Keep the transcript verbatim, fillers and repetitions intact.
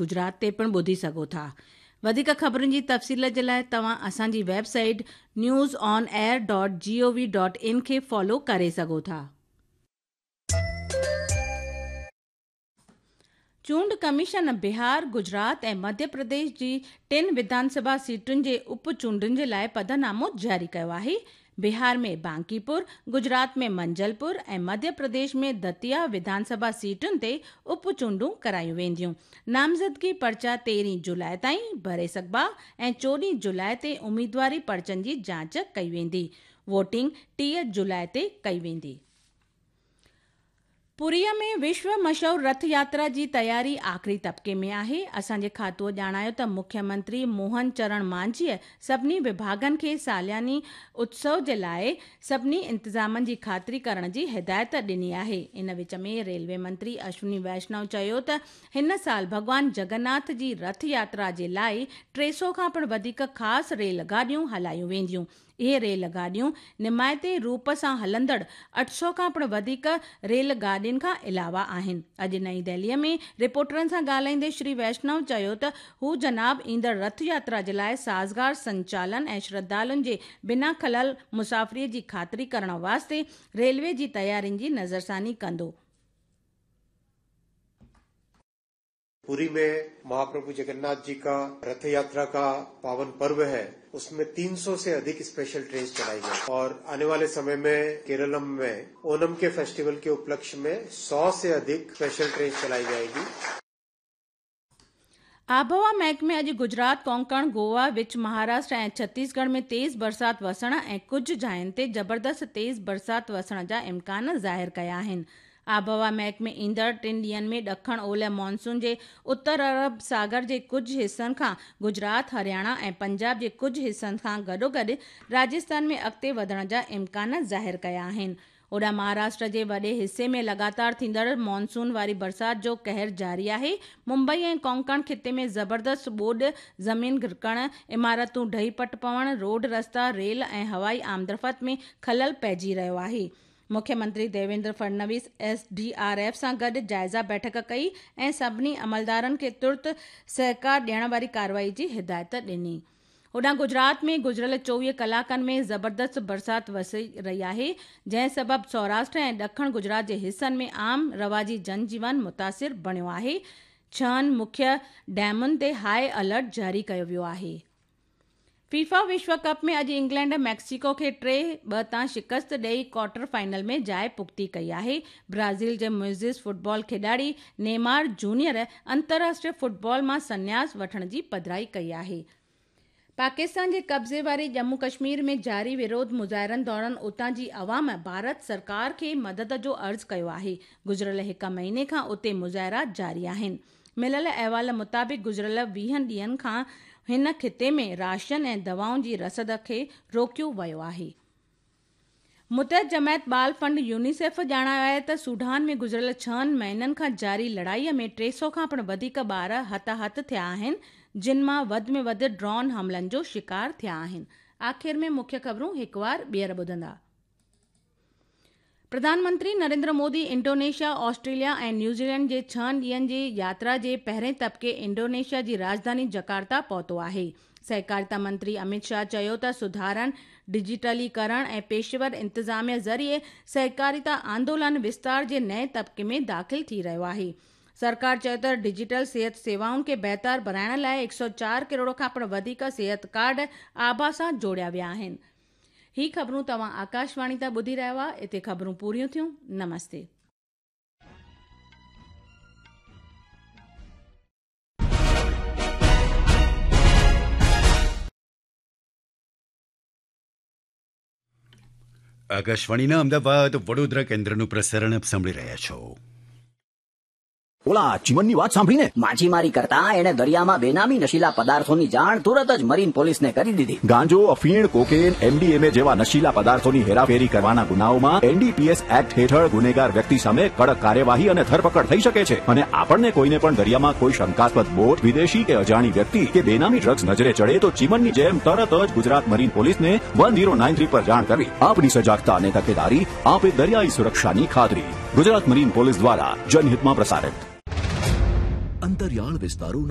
Gujarat تي پڻ ٻڌي سگهو ٿا. وڌيڪ خبرن جي تفصيل جي لاءِ توهان اسان جي website news on air dot G O V dot in کي فالو ڪري سگهو ٿا. چونڊ ڪميشن بهار، گجرات ۽ مڌيه پرديش جي ٽن وڌان سڀا سيٽن جي اپ چونڊن جي لاءِ پڌرنامو جاري ڪيو آهي. بهار ۾ بانڪيپور، گجرات ۾ منجلپور ۽ مڌيه پرديش ۾ دتيا وڌان سڀا سيٽن تي اپ چونڊون ڪرايون وينديون. نامزدگي پرچا تيرهين جولاءِ تائين ڀري سگهبا ۽ چوڏهين جولاءِ تي اميدواري پرچن جي جاچ ڪئي ويندي. ووٽنگ ٽيهه جولاءِ تي ڪئي ويندي. پوريءَ ۾ وشو مشهور رٿ ياترا جي تياري آخري طبقي ۾ آهي. اسان جي کاتوءَ ڄاڻايو ته مکيه منتري موهن چرڻ مانجهيءَ سڀني وڀاڳن کي سالياني اتسو جي لاءِ سڀني انتظامن جي خاطري ڪرڻ جي هدايت ڏني آهي. ان وچ ۾ ريلوي منتري اشوني ويشنو چيو ته هن سال ڀڳوان جگناٿ جي رٿ ياترا جي لاءِ ٽي سؤ کان پڻ وڌيڪ خاص ريل گاڏيون هلايون وينديون. اهي ريل گاڏيون نمائتي روپ سان هلندڙ اٺ سؤ کان پڻ وڌيڪ ريل گاڏين کان علاوه آهن. اڄ نئين دهليءَ ۾ رپورٽرن سان ڳالهائيندي شري ويشنو چيو ته هو جناب ايندڙ رٿ ياترا جي لاءِ سازگار سنچالن ۽ شرڌالن جي بنا خلل مسافريءَ جي خاطري ڪرڻ واسطي ريلوي جي تيارين جي نظرثاني ڪندو. पुरी में महाप्रभु जगन्नाथ जी का रथ यात्रा का पावन पर्व है, उसमें तीन सौ से अधिक स्पेशल ट्रेन चलाई गई और आने वाले समय में केरलम में ओणम के फेस्टिवल के उपलक्ष्य में सौ से अधिक स्पेशल ट्रेन चलाई जाएगी. आबहवा महकमे अॼु गुजरात, कोंकण, गोवा, विच महाराष्ट्र ऐं छत्तीसगढ़ में तेज़ बरसाति वसण ऐं कुझु जायुनि ते ज़बरदस्त तेज़ बरसाति वसण जा इम्कान ज़ाहिर कया आहिनि. आबहवा महकमे ईंदड़ टिनि ॾींहंनि में ॾखण ओलह मानसून जे उत्तर अरब सागर जे कुझु हिसनि खां गुजरात, हरियाणा ऐं पंजाब जे कुझु हिसनि खां गॾोगॾु राजस्थान में अॻिते वधण जा इम्कान ज़ाहिर कया आहिनि. होॾां महाराष्ट्र जे वॾे हिसे में लगातार थींदड़ मानसून वारी बरसाति जो कहर जारी आहे. मुंबई ऐं कोंकण ख़िते में ज़बरदस्त ॿोॾ, ज़मीन गिरकण, इमारतूं ढही पट पवण, रोड रस्ता, रेल ऐं हवाई आमदरफ़्त में ख़लल पइजी रहियो आहे. मुख्यमंत्री Devendra Fadnavis S D R F सां गॾु जाइज़ा बैठक कई ऐं सभिनी अमलदारनि खे तुर्त सहकार ॾियण वारी कार्रवाई जी हिदायत ॾिनी. होॾां गुजरात में गुज़िरियल चोवीह कलाकनि में ज़बरदस्त बरसाति वसी रही आहे, जंहिं सबबु सौराष्ट्र ऐं ॾखण गुजरात जे हिसनि में आम रवाजी जनजीवन मुतासिर बणियो आहे. छहनि मुख्य डैमुनि ते हाई अलर्ट जारी कयो वियो आहे. फीफा विश्व कप में अॼु इंग्लैंड मैक्सिको खे टे ॿ तां शिकस्त ॾेई क्वार्टर फाइनल में जाइ पुख़्ती कई आहे. ब्राज़ील जे मुइज़िज़ फुटबॉल खिॾाड़ी नेमार जूनियर अंतर्राष्ट्रीय फुटबॉल मां संन्यास वठण जी पधराई कई आहे. पाकिस्तान जे कब्ज़े वारे जम्मू कश्मीर में जारी विरोध मुज़ाहिरनि दौरान उतां जी अवाम भारत सरकार खे मदद जो अर्ज़ कयो आहे. गुज़िरियल हिकु महीने खां उते मुज़ाहिरा जारी आहिनि. मिलियल अहवाल मुताबिक़ गुज़िरियल वीहनि ॾींहंनि खां हिन ख़िते में राशन ऐं दवाउनि जी रसद खे रोकियो वियो आहे. मुतहद जमायत बाल फंड यूनिसेफ ॼाणायो आहे त सूडान में गुज़िरियल छहनि महीननि खां जारी लड़ाईअ में टे सौ खां पिणु वधीक ॿार हथाहथ थिया आहिनि, जिन मां वधि में वधि ड्रोन हमलनि जो शिकार थिया आहिनि. आख़िर में मुख्य ख़बरूं हिकु वार ॿीहर ॿुधंदा. प्रधानमंत्री नरेंद्र मोदी इंडोनेशिया, ऑस्ट्रेलिया ऐं न्यूजीलैंड जे छहनि ॾींहंनि जी यात्रा जे पहिरें तबक़े इंडोनेशिया जी राजधानी जकार्ता पहुतो आहे. सहकारिता मंत्री अमित शाह चयो त सुधारनि, डिजिटलीकरण ऐं पेशेवर इंतिज़ामिया ज़रिए सहकारिता आंदोलन विस्तार जे नए तबक़े में दाख़िल थी रहियो आहे. सरकार चयो त डिजिटल सेहत सेवाउनि खे बहितर बणाइण लाइ हिकु सौ चारि करोड़ खां पिणु वधीक सेहत कार्ड आभा सां जोड़िया विया आहिनि. ही ख़बरूं तव्हां आकाशवाणी तां ॿुधी रहिया हुआ. हिते ख़बरूं पूरियूं थियूं. नमस्ते. આકાશવાણીના અમદાવાદ વડોદરા કેન્દ્રનું પ્રસારણ આપ સાંભળી રહ્યા છો. ઓલા ચીમનની વાત સાંભળીને માછીમારી કરતા એણે દરિયામાં બેનામી નશીલા પદાર્થોની જાણ તુરત જ મરીન પોલીસને કરી દીધી. ગાંજો, અફીણ, કોકેન, એમડીએમએ જેવા નશીલા પદાર્થોની હેરાફેરી કરવાના ગુનાઓમાં એનડીપીએસ એક્ટ હેઠળ ગુનેગાર વ્યક્તિ સામે કડક કાર્યવાહી અને ધરપકડ થઈ શકે છે. અને આપણને કોઈને પણ દરિયામાં કોઈ શંકાસ્પદ બોટ, વિદેશી કે અજાણી વ્યક્તિ કે બેનામી ડ્રગ્સ નજરે ચડે તો ચીમનની જેમ તરત જ ગુજરાત મરીન પોલીસને વન ઝીરો નાઇન થ્રી પર જાણ કરવી. આપની સજાગતા અને તકેદારી આપે દરિયાઈ સુરક્ષાની ખાતરી. ગુજરાત મરીન પોલીસ દ્વારા જનહિતમાં પ્રસારિત. અંતરિયાળ વિસ્તારોના